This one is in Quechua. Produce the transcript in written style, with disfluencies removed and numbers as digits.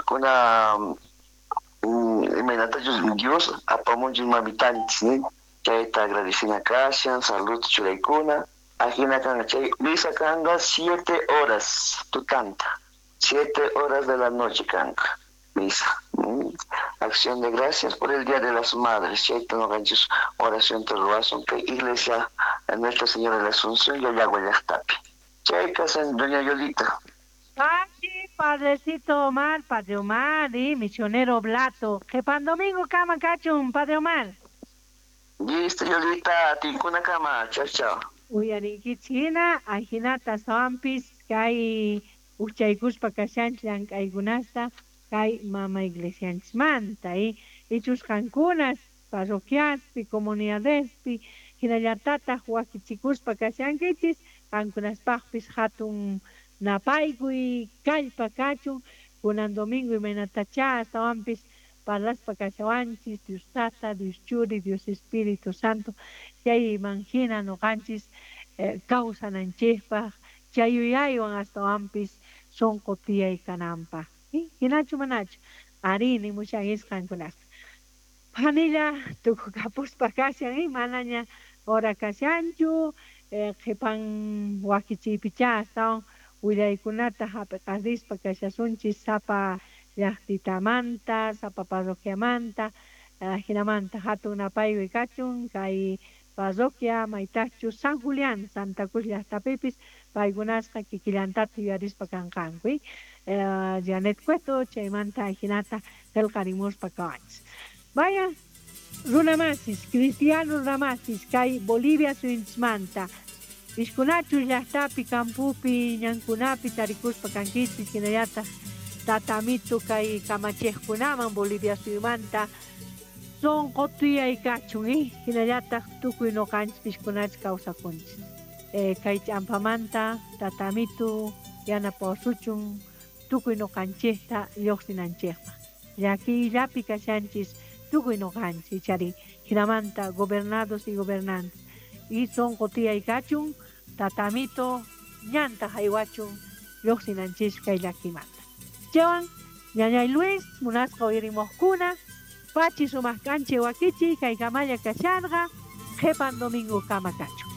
Kuna imaynatachus Dios apamunchis mamitanchis, ¿no? Chayta agradecina kashan, salud churaykuna. Ajina kanqa chay misa kanqa 7 horas tutanta, 7 horas de la noche kanqa misa. Acción de gracias por el Día de las Madres. Chayta noqanchis oración ruwasun kay iglesia Nuestra Señora de la Asunción Llallagua llaqtapi. Chay kasan doña Yolita. Pachi, padrecito Omar, padre Omar, y misionero Oblato. Qhipan domingo kama kachun, padre Omar. Listo, Yolita, tinkuna kama. Chao, chao. Uyarinkichis hina, ajinata astawanpis kay uchaykuspa kashanchis llank'aykunasta kay mama iglesianchismanta, ichus qankunas parroquiaspi, comunidadespi, hinallatataq wakichikuspa kashankichis, qankunaspaqpis hatun napaykuy kallpa kachun, kunan domingo imaynatachá astawanpis parlaspa kashawanchis, Dios Tata, Dios Churi, Dios Espíritu Santo, chayman hina noqanchis kawsananchikpaq, chay yuyaywan astawanpis sunqu tiyay kananpaq. Hinachu manachu? Arí nimushanchis qankunaspa. Phanilla tukukapuspa kashan, manaña hora kashanchu, qhipan wakichiypichá astawan willaykunata hap'iqarispa kashasunchis sapa llaqtitamanta, sapa parroquiamanta, hinamanta hatun napaykuy kachun kay parroquia maytaqchu San Julián, Santa Cruz llaqtapipis paykunasqa kikillantata yuyarispa kanqanku. Janet Cueto chaymanta hinata qillqarimuspa kawanchis. Vaya runamasis, cristiano runamasis kay Bolivia suyunchismanta Piskunachus llaqtapi, campupi, ñankunapi tarikuspa kankichis hinallataq tatamito kay kamachiqkunaman Bolivia suyumanta sunqu tiyay kachun, hinallataq tukuy noqanchis piskunachis kawsakunchis. Kay ch'ampamanta tatamito yanapawasuchun tukuy noqanchikta lluqsinanchikpaq. Llakiyllapi kashanchis tukuy noqanchis ichari hinamanta gobernados y gobernantes. Y sunqu tiyay kachun tatamito ñanta haywachun lluqsinanchis kay llakimanta. Chaywan ñañay Luis munasqa uyarimuqkuna pachi sumaq kanchi wakichi kay kamalla kasharqa qhipan domingo kama kachun.